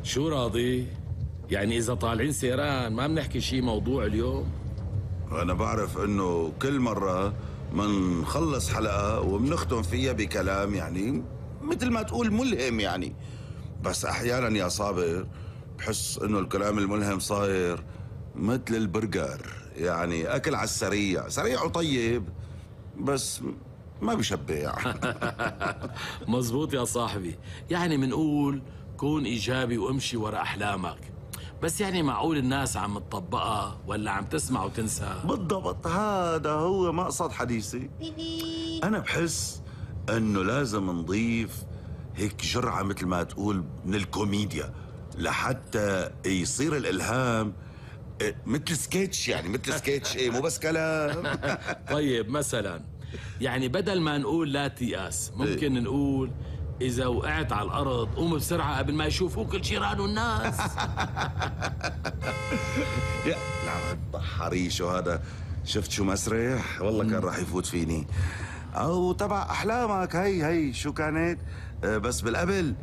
شو راضي؟ يعني إذا طالعين سيران ما بنحكي شي موضوع اليوم؟ أنا بعرف إنه كل مرة منخلص حلقة وبنختم فيها بكلام يعني مثل ما تقول ملهم يعني. بس أحيانا يا صابر بحس إنه الكلام الملهم صاير مثل البرجر، يعني أكل على السريع، سريع وطيب بس ما بشبع. مزبوط يا صاحبي، يعني منقول كون إيجابي وامشي ورا أحلامك، بس يعني معقول الناس عم تطبقها ولا عم تسمع وتنسى؟ بالضبط، هذا هو مقصد حديثي. أنا بحس إنه لازم نضيف هيك جرعة مثل ما تقول من الكوميديا لحتى يصير الإلهام مثل سكيتش، يعني مثل سكيتش، مو بس كلام. طيب مثلا يعني بدل ما نقول لا تيأس ممكن نقول إذا وقعت على الأرض قوم بسرعة قبل ما يشوفوك الجيران والناس. يا نعم حريشو هذا، شفت شو مسرح؟ والله كان راح يفوت فيني. أو تبع أحلامك، هي شو كانت؟ بس بالقبل